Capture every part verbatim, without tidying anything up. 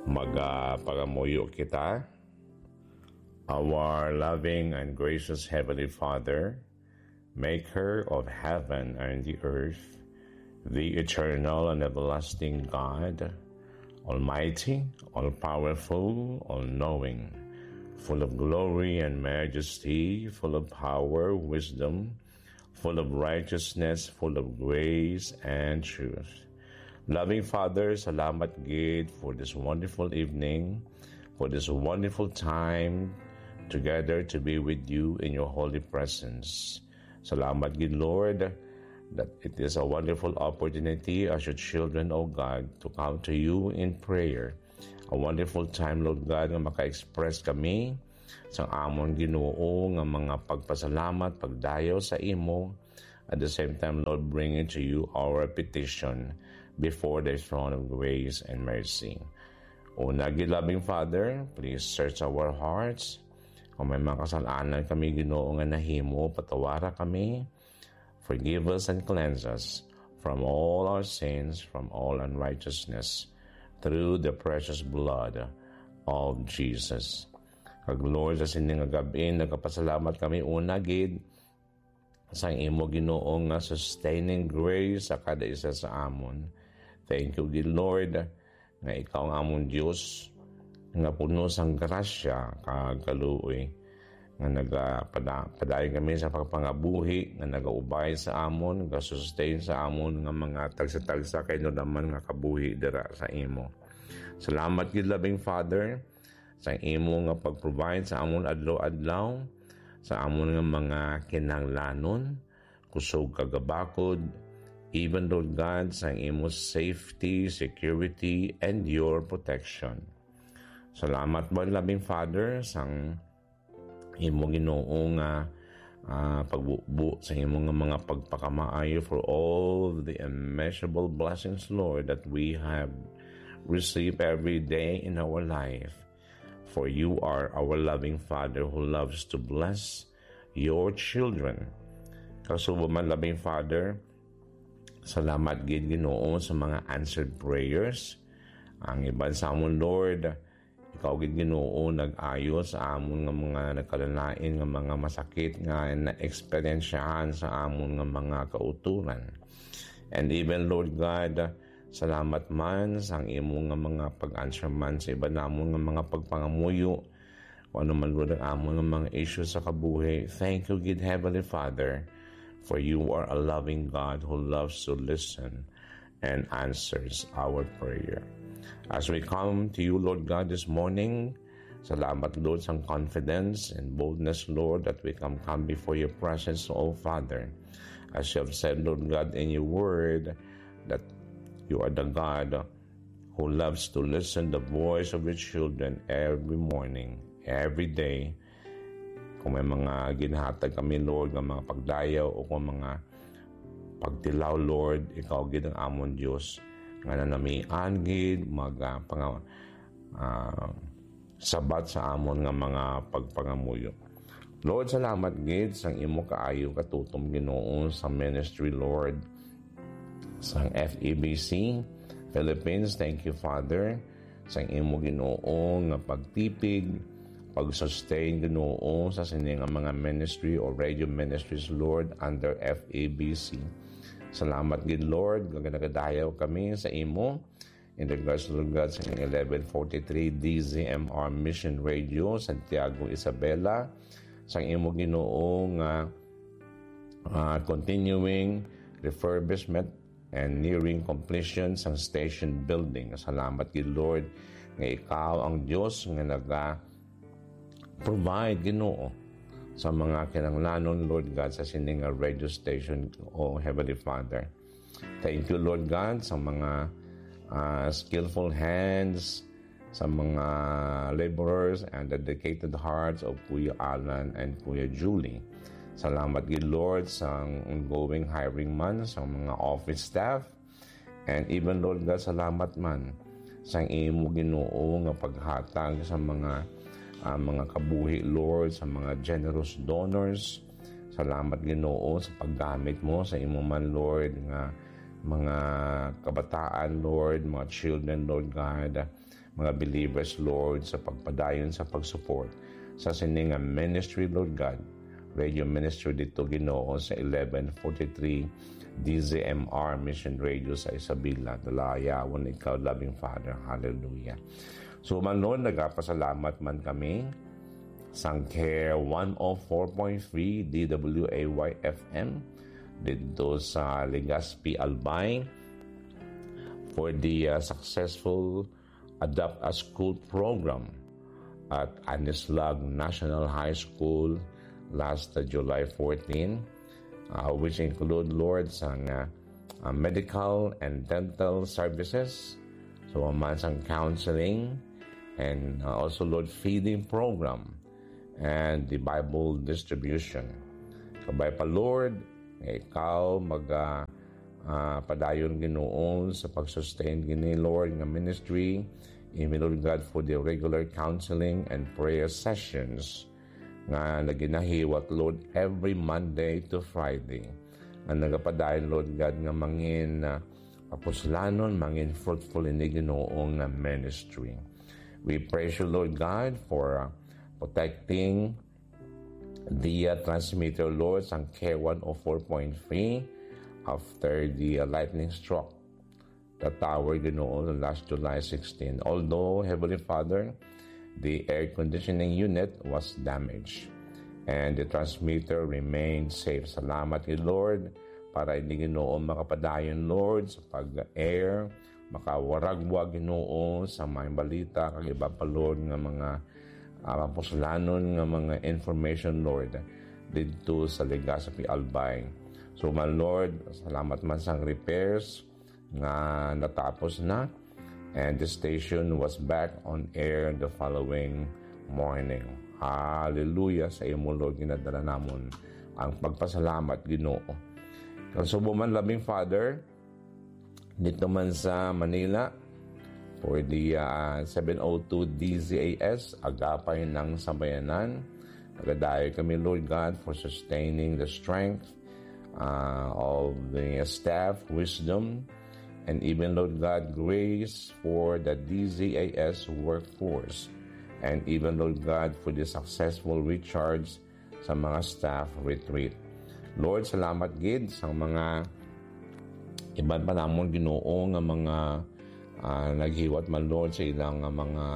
Magapangamuyo kita. Our loving and gracious Heavenly Father, maker of heaven and the earth, the eternal and everlasting God, almighty, all-powerful, all-knowing, full of glory and majesty, full of power, wisdom, full of righteousness, full of grace and truth. Loving Father, salamat gid for this wonderful evening, for this wonderful time together to be with you in your holy presence. Salamat gid, Lord, that it is a wonderful opportunity as your children, O God, to come to you in prayer. A wonderful time, Lord God, nga maka-express kami sa amon, Ginoo, nga mga pagpasalamat, pagdayaw sa imo. At the same time, Lord, bringing to you our petition before the throne of grace and mercy. Una gid, loving Father, please search our hearts. Kung may mga kasalanan kami, Ginoo, nga nahimo, patawara kami. Forgive us and cleanse us from all our sins, from all unrighteousness, through the precious blood of Jesus. Kag Lord, sa sini nga gab-i, nagapasalamat kami una gid sa imo, Ginoo, nga sustaining grace sa kada isa sa amon. Thank you gid, Lord, nga ikaw ang amon Dios, nga puno sang grasya kag kaluoy, nga nagapada-, padayon kami sa pagpangabuhi, nga nagaubay sa amon, gasustain sa amon nga mga tagsa-tagsa kay naman nga kabuhi dira sa imo. Salamat gid, loving Father, sa imo nga pag-provide sa amon adlaw-adlaw, sa amon nga mga kinahanglanon, kusog kag gabakod, even, Lord God, sa imo safety, security, and your protection. Salamat man, loving Father, sang imo, Ginoo, nga, ah, pagbubo sa imo nga mga pagpakamaayo, for all the immeasurable blessings, Lord, that we have received every day in our life. For you are our loving Father who loves to bless your children. Kasubo man, loving Father, salamat gid, Ginoo, sa mga answered prayers. Ang iban sa amon, Lord, ikaw gid, Ginoo, nag-ayo sa amon nga mga nagkalalain nga mga masakit nga naeksperyensyahan sa amon nga mga kauturan. And even, Lord God, salamat man sang imo nga mga pag-answer man sa iban namon nga mga pagpangamuyo, kung ano man, Lord, ang amon nga mga issues sa kabuhi. Thank you gid, Heavenly Father, for you are a loving God who loves to listen and answers our prayer. As we come to you, Lord God, this morning, salamat, Lord, sang confidence and boldness, Lord, that we can come before your presence, O Father. As you have said, Lord God, in your word, that you are the God who loves to listen the voice of your children every morning, every day. Kung may mga ginhatag kami, Lord, nga mga pagdayaw o kung mga pagtilaw, Lord, ikaw gid ang amon Dios nga nanamian gid mag, ah, panga-, ah, sabat sa amon nga mga pagpangamuyo. Lord, salamat gid sang imo kaayo katutom, Ginoo, sa ministry, Lord, sang F E B C Philippines. Thank you, Father, sang imo, Ginoo, nga pagtipig, pag-sustain, Ginoo, sa sini nga mga ministry o radio ministries, Lord, under F E B C. Salamat gid, Lord, nga nagadayaw kami sa imo. In regards, Lord God, sa eleven forty-three D Z M R Mission Radio, Santiago, Isabela, sang imo, Ginoo, nga, ah, continuing refurbishment and nearing completion sang station building. Salamat gid, Lord, nga ikaw ang Dios nga naga-provide, Ginoo, sa mga kinahanglanon, Lord God, sa sini nga radio station, O Heavenly Father. Thank you, Lord God, sa mga, ah, skillful hands, sa mga laborers and dedicated hearts of Kuya Alan and Kuya Julie. Salamat gid, Lord, sa ongoing hiring man sa mga office staff. And even, Lord God, salamat man sa imo, Ginoo, nga paghatag sa mga, ah, mga kabuhi, Lord, sa mga generous donors. Salamat, Ginoo, sa paggamit mo sa imo man, Lord, nga mga kabataan, Lord, mga children, Lord God, mga believers, Lord, sa pagpadayon sa pag-support sa sini nga ministry, Lord God. Radio ministry dito, Ginoo, sa eleven forty-three D Z M R Mission Radio sa Isabela. Dalayawon ikaw, loving Father. Hallelujah. So, man, Lord, nagapasalamat man kami sang Care one oh four point three D W A Y F M dito sa Legazpi, Albay for the, uh, successful Adopt a School program at Anislag National High School last, uh, July fourteen, uh, which include, Lord, sang, uh, uh, medical and dental services, so man sang counseling, and, uh, also, Lord, feeding program and the Bible distribution. Kabay pa, Lord, nga ikaw mag, uh, uh, padayon, Ginoo, sa pag-sustain gini, Lord, nga ministry. Even, Lord God, for the regular counseling and prayer sessions nga naginahiwat, Lord, every Monday to Friday, nga nagapadayon, Lord God, nga mangin, ah, kapuslanon, mangin fruitful ini, Ginoo, nga ministry. We praise you, Lord God, for, ah, protecting the, ah, transmitter, Lord, sang Care one oh four point three after the, ah, lightning struck the tower, Ginoo, last July sixteen. Although, Heavenly Father, the air conditioning unit was damaged and the transmitter remained safe. Salamat kay Lord para ini, Ginoo, makapadayon, Lord, sa pag-air, makawaragwa, Ginoo, sa mga balita, kag iba pa, Lord, nga mga, ah, mapuslanon nga mga information, Lord, didto sa Legazpi, Albay. So, my Lord, salamat man sang repairs nga natapos na, and the station was back on air the following morning. Hallelujah sa imo, Lord, ginadala namon ang pagpasalamat, Ginoo. Kag subong man, loving Father, dito man sa Manila, for the, ah, seven oh two D Z A S, Agapay ng Sambayanan. Nagadayo kami, Lord God, for sustaining the strength, ah, of the staff, wisdom, and even, Lord God, grace for the D Z A S workforce, and even, Lord God, for the successful recharge sa mga staff retreat. Lord, salamat gid sa mga iban pa namon, Ginoo, nga mga, ah, naghiwat man, Lord, sa ilang nga mga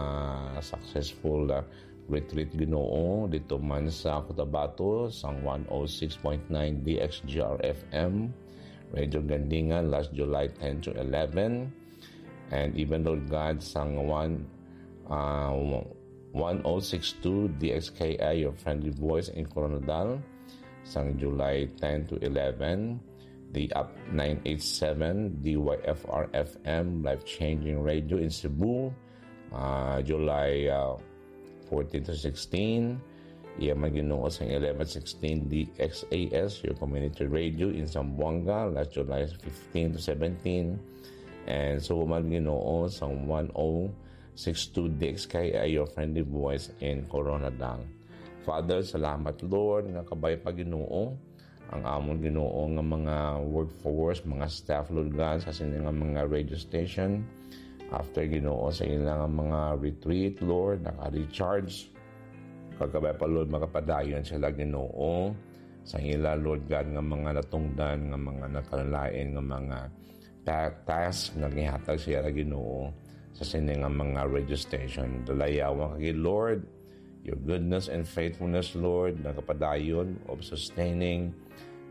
successful, ah, retreat, Ginoo, dito man sa Cotabato, sang one oh six point nine D X G R F M, Radio Gandingan, last July ten to eleven, and even, Lord God, sang one, ah, one oh six two D X K I, Your Friendly Voice in Koronadal, sang July ten to eleven, the Up nine eight seven, D Y F R F M, Life Changing Radio in Cebu, ah, July, ah, fourteen to sixteen. Iya man, Ginoo, sang eleven sixteen D X A S, Your Community Radio in Zamboanga, last July fifteen to seventeen. And so man, Ginoo, sang one oh six two D X K I, Your Friendly Voice in Koronadal. Father, salamat, Lord, nga kabay pa, Ginoo, ang amon, Ginoo, nga mga workforce, mga staff, Lord God, sa sini nga mga radio station. After, Ginoo, sa ila nga mga retreat, Lord, naka-recharge. Kag kabay pa, Lord, makapadayon sila, Ginoo, sa ila, Lord God, nga mga natungdan, nga mga nagkalalain, nga mga ta-, task nga gihatag sa ila, Ginoo, sa sini nga mga radio station. Dalayawon ka gid, Lord, your goodness and faithfulness, Lord, nagapadayon of sustaining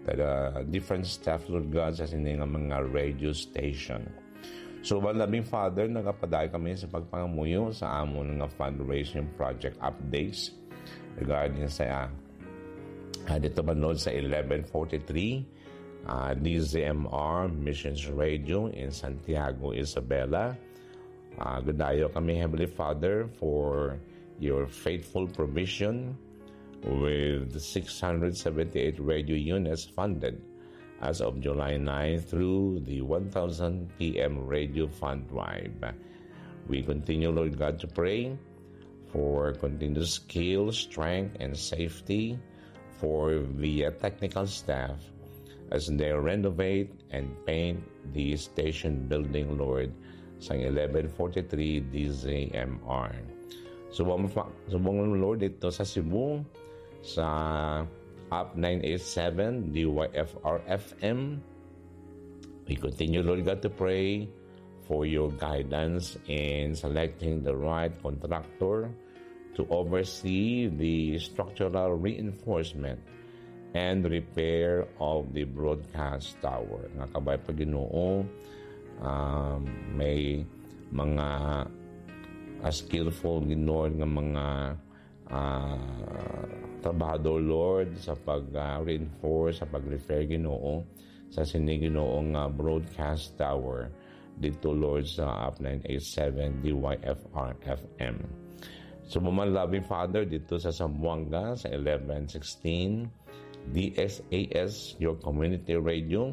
the, the different staff, Lord God, sa sini nga mga radio station. So, my loving Father, nagapadayon kami sa pagpangamuyo sa amon nga fundraising project updates regarding sa, ah, dito man, Lord, sa eleven forty-three, ah, D Z M R Missions Radio in Santiago, Isabela. Ah, gadayo kami, Heavenly Father, for your faithful provision with six hundred seventy-eight radio units funded as of July nine through the one thousand P M Radio Fund Drive. We continue, Lord God, to pray for continued skill, strength, and safety for the, uh, technical staff as they renovate and paint the station building, Lord, sang eleven forty-three D Z M R. Subong, subong, Lord, dito sa Cebu, sa Up nine eight seven, D Y F R F M. We continue, Lord God, to pray for your guidance in selecting the right contractor to oversee the structural reinforcement and repair of the broadcast tower. Nga kabay pa, Ginoo, um, may mga, ah, skillful, Ginoo, nga mga, ah, trabahador, Lord, sa pag, ah, reinforce, sa pag-repair, Ginoo, sa sini, Ginoo, nga broadcast tower dito, Lord, sa Up nine eight seven D Y F R F M. So, mga loving Father, dito sa Zamboanga, sa eleven sixteen D S A S, your community radio,